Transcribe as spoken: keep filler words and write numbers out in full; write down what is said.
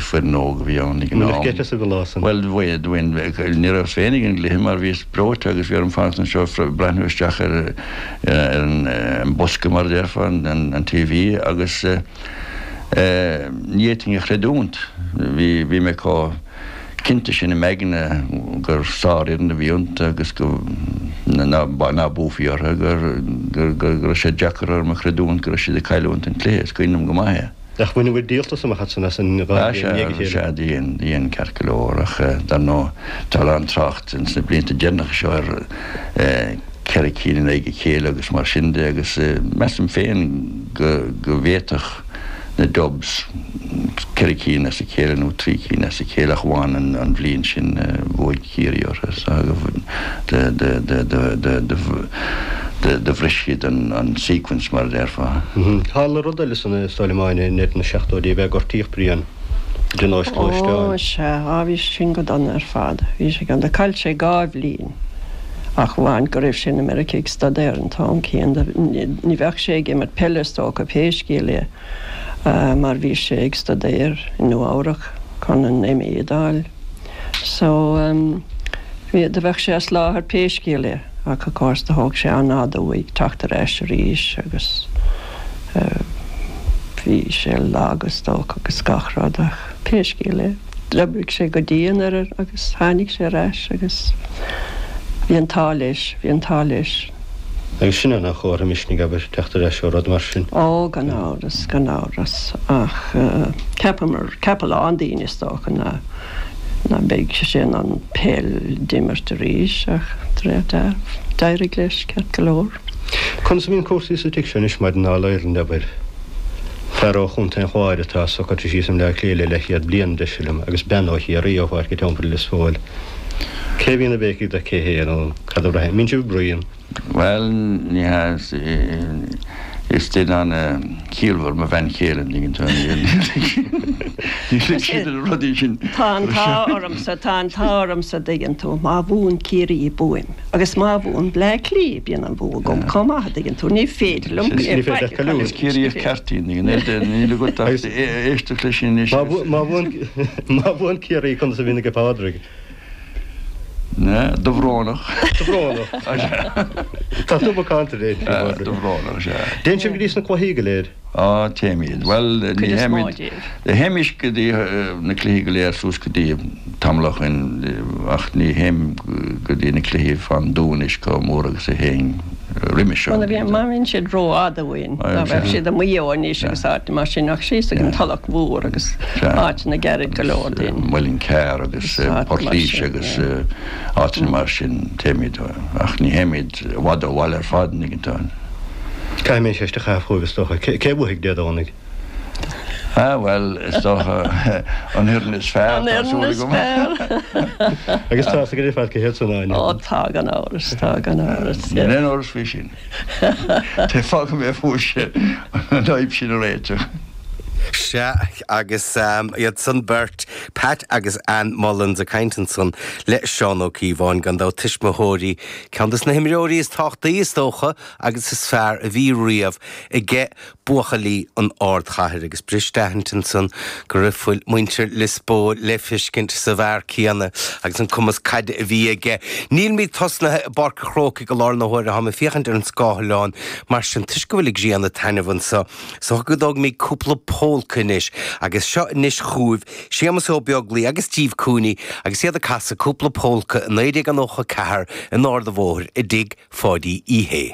foireann óg a bhí ann ag an am. Bhfuil geit as an lá san? Bhuel, bhain, ní rabhas féin ag an gcluiche mar bhíos breoite agus bhí orm fanacht anseo breathnú isteach ar ar an bosca mar a déarfá, an TV agus ní fhéadfainn a chreidiúint. Bhí bhí mé chomh cinnte sin i m'aigne gur sárfhoireann a bhí iontu agus go ná ná buafaí orthu gur gur go raibh sé deacair orm a chreidiúint go raibh siad ag cailliúint an cluiche. Is cuimhin liom go maith é. Ach bhain a bhfuil díoltas amach as san as an dhá Ah, bhliain i ndiaidh a sea, chéile. sea, dhein, dhein ceart go leor ach dar ndóigh tá a lán trácht ins na blianta deireanacha seo ar ceithre cinn in aghaidh a chéile agus mar sin de agus measaim féin go go bhféadfadh na Dubs ceithre cinn as a chéile nó trí cinn as a chéile ach amháin an an bhliain sin bhuaigh Ciarraí orthu so de de de de de de de de bhris siad an an sequence mar a déarfá. Tharla rud eile san is dóigh liom Áine in na seachtóidí ab ea gortaíodh Brian de nós Ó gluaisteáin. sea, á bhí sin go dona ar fad. Bhí sé go chaill sé dhá bhliain ach amháin go raibh sé in America ag staidéar an t-am céanna ní bheadh sé ag imirt peile is dócha pé scéal é mar bhí sé ag staidéar i Nua Eabhrac chun an MA a fháil. So um, bhí do bheadh sé as láthair pé scéal é ach of course do thóg sé an-fhada uaidh teacht ar ais arís agus uh, bhí sé lag is dócha agus gach rud ach pé scéal é. D'oibrigh sé go dian ar agus tháinig sé ar ais agus bhí an t-ádh leis, bhí an t-ádh leis. Agus sin an chóir misnigh abair teacht ar ais ó rud mar sin. Ó gan amhras gan amhras ach uh, ceapamar ceap a lán daoine is dócha ná ná beidh sé in ann peil d'imirt arís ach d'éirigh leis ceart go leor. Conas a bhíonn cúrsaí sa tigh seo anois maidir le All-Ireland abair. Fear ó Chontae an Chláir atá socraithe síos i mBleá Cliath le leathchéad bliain deis liom agus bean ó Chiarraí ó Pháirc an Teampaill Lios Póil. Cé bhíonn ag béicigh do cé hé nó cad a bhraithim? Mbíonn sibh bruíon. Well ní hea is duine an-chiallmhar mo bhean chéile ní siad na rudaí sin. Tá an t-ádh ormsa tá an t-ádh ormsa dtuigeann tú má bhuann Ciarraí buaim agus má bhuann Bleá Cliath bíonn an bua agam chomh maith dtuigeann tú ní féidir liom Ní féidir leat cailliúint. Is Ciarraí ceartín níl agat ach éisteacht leis sin Má bhu- má bhuann má bhuann Ciarraí conas a bhíonn ag Pádraig. Ne Dobhrónach Dobhrónach. Tá tú macánta lé. Dobhrónach sé. Téann sibh go dtí sna cluichí go léir. Á téimid. Well ní Cuid is mó théimid díobh. théimis go dtí na cluichí go léir suas go dtí tamall ó shin ach ní théim go dtí na cluichí fan dúnis go mór agus a théinn roimhe seo. Má bhí má bhíonn siad rófhada uainn Ah, dá bheadh sea. siad i Maigh Eo anois agus áit mar sin ach síos ag an Tulach Mhór agus Sea. áiteanna gairid go leor dúinn. Muileann gCearr agus Agus áit Port mar Laoise sin, agus yeah. áiteanna mar sin téimid ach ní théimid i bhfad ó bhaile ar fad ní tá. Caithfidh mé ceist a chaitheamh chugaibh is dócha. Cé cé bhuafaidh Dé Domhnaigh? Ah well is dócha an fhoireann is fearr An fhoireann is fearr. Agus tá go fad go héad san Áine. Ó tá gan amhras tá gan amhras. Níl aon amhras faoi sin. Té fágfaidh mé fós sé an fhadhb sin a réiteach. Sea agus um, iad san beirt Pat agus Ann Mullins ag caint ansan le Seán Ó Cíobháin gan dabht tuismitheoirí ceann des na himreoirí is tábhachtaí is dócha agus is fearr a bhí riamh aige buachaillí an ardchathair agus b'fhuirist aithint ansan go raibh fuil muintir Lios Póil le feiscint sa bhfear céanna agus an cumas caide a bhí aige. Nílimid tosnaithe i bPáirc an Chrócaigh i láthair na huaire tá mé ag féachaint ar an scáileán mar sin toisc go bhfuil ag grian ag taitneamh anseo. So go dtógfaimid cúpla pólca anois agus seo anois chugaibh Séamus Ó Beaglaoich agus Steve Cooney agus iad ag casadh cúpla pólca i naoi déag nócha ceathair in Ard an Bhóthair i dtigh Pháidí Uí Shé.